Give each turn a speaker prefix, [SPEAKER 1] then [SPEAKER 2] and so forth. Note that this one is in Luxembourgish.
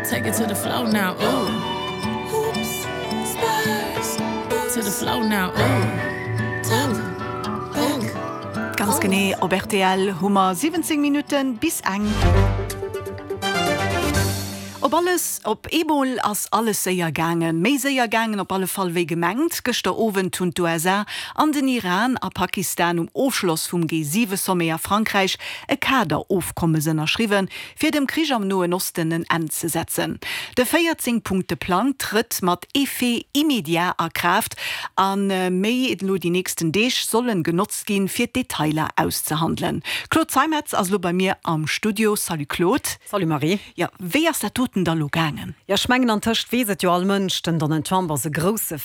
[SPEAKER 1] Take it to the floor now, ooh. Hoops, spurs, boots. To the floor now, ooh. Ooh, ooh.
[SPEAKER 2] Ganz genee op rtl hu mer 17 Minutten bis eng. Op alles op eemol ass alles séier gaangen. Méi séier gaangen op alle Fall wéi gemengt. Gëschter Owend hunn d'USA an den Iran a Pakistan um Ofschloss vum G7-Sommet a Frankräich e Kaderofkommes ënnerschriwwen, fir dem Krich am Noen Osten en Enn ze setzen. De 14 Punkte Plang trëtt mat Effet immédiat a Kraaft a méi elo déi nächsten Deeg sollen genotzt ginn, fir d'Detailer auszehandelen. Claude Zeimetz ass elo bei mir am Studio. Salut Claude.
[SPEAKER 3] Salut Marie.
[SPEAKER 2] Jo, wéi ass dat doten da lo gaangen?
[SPEAKER 3] Jo, ech mengen antëscht weess et jo all Mënsch, den Donald Trump ass e grousse.